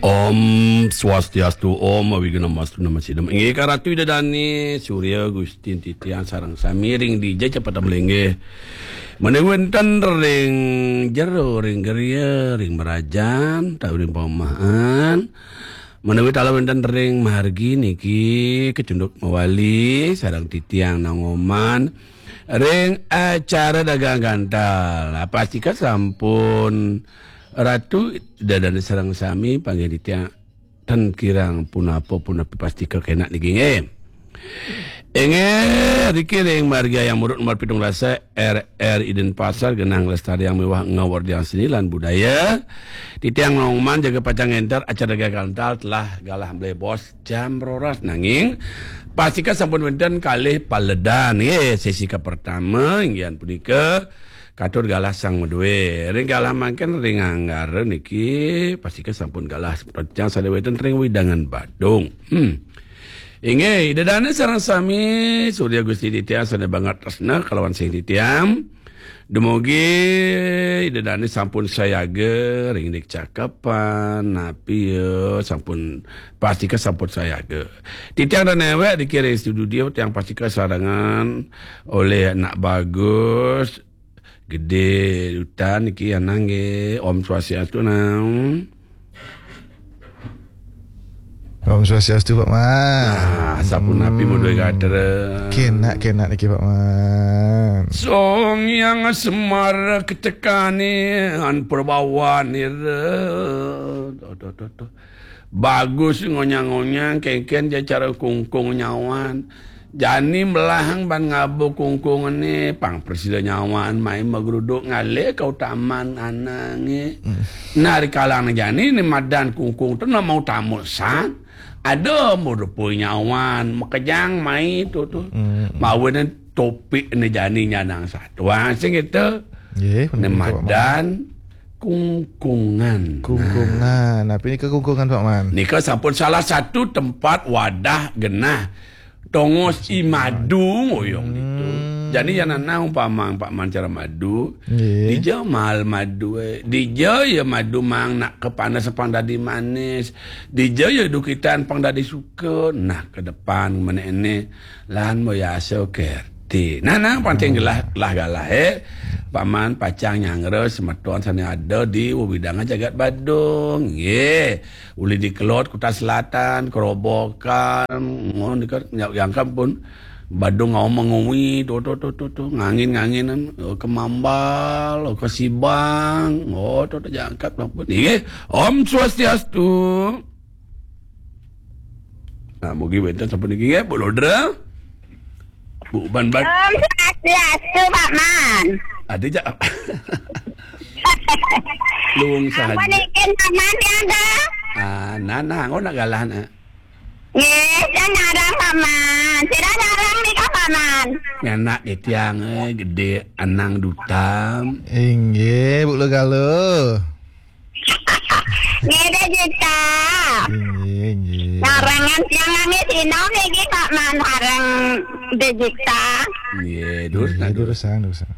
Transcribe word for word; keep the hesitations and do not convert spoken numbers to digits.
Om Swastiastu, Om Awighnam Astu Namo Sidham. Inggih ka Ratu Ida Dane, Surya Gusti titiang sareng sami ring dija cepet malinggih. Menawi wenten ring jero, ring griya, ring mrajan, utawi ring paumahan. Menawi taler wenten ring margi niki kacunduk mawali sareng titiang Nang Oman ring acara dagang gantal. Nah, pastika sampun Ratu Ida Dane sareng sami panggih titiang ten kirang punapa punapi pastika kenak niki nggih. Inggih, riki ring margi Hayam Muruk nomor pitung dasa, R R I Denpasar, genah nglestariang miwah ngawerdiang seni lan budaya. Titiang Nang Oman jaga pacang ngenter acara dagang gantal telah galah mlebos jam roras nanging pastika sampun wenten kalih paledan nggih. Sesi kapertama inggih punika katur galah sang madue. Ring galah mangkin ring Anggara niki pastika sampun galah pacang sane wenten ring wewidangan Badung. Hmm. Inggih, Ida Dane sareng sami Surya Gusti titiang sane banget tresna kalawan sing titiang. Dumugi Ida Dane sampun sayaga ring dik cakepan, napi ya, sampun pastika sampun sayaga. Titiang dan newek niki ring studio tiang pastika sarengan olih anak bagus, Gede Dutan niki anang nggih. Om Swastiastu, Nang. Om Swastiastu, Pak Man. Nah, sapunapi Hmm. Madue gatra? Kenak, kenak niki, Pak Man. Sang Hyang Semar ketekane an perbawan ira. Tuh, tuh, tuh, tuh. Bagus ngonyang-ngonyang, kengken ja cara kungkung nyawan. Jani melahang ban ngaba kungkungane, pang prasida nyawan mai magruduk ngalih kautaman anange. Hmm. Nah, rikalang jani ne madan kungkung tu nama utama san. Ada murupui nyawan, makejang mai tu tu. Hmm. Mawinan topik ne jani nyanang satuan sing kita. Nggih, Ne bener, Pak Man. Madan kungkungan. Kungkungan. Nah. Napi nika kungkungan, Pak Man? Nika sampun salah satu tempat wadah genah tongos i madu ngoyong ditu. Hmm. Jani yan nanang umpama Pak Man cara madu, nggih. Dija mahal madu, eh. Dija ya madu mang nak kepanas pang dadi manis. Dija ya dukitan pang dadi suka. Nah, ke depan meneh ne lan moyasa kerti. Nah, nah, panting gelah, lah galah, eh. Paman pacang nyanggra semeton sane ada di wewidangan jagat Badung. Nggih. Uli di Kelod, Kuta Selatan, Kerobokan, ngono nika, nya-, jangkep pun. Badung ngau menguwi, to, to, to, to, to, ngangin-nganginan, eh, ke Mambal, ke Sibang, oh, to, to, jangkep pun. Nggih. Om Swastiastu. Nah, mugi wenten sampun niki nggih, Bu Lodra. Bu Ban Ban. Om Swastiastu, Pak Man. Ada jak. Luung sahaja. Ampun, ikin, Pak Man, ya, dah. Ah, nah, nah, engko nak galah, nak. Nggih, saya nyarang, Pak Man. Sira nyarang nika, Pak Man. Nyanak titiang, eh, gede, anang dutam. Inggih, Bu Logalo. Nggih, Dejita. Inggih, inggih. Narangan tiang nami Sino niki, Pak Man, sareng Dejita. Nggih, durus, nggih, nah, durus. Durusang, durusang.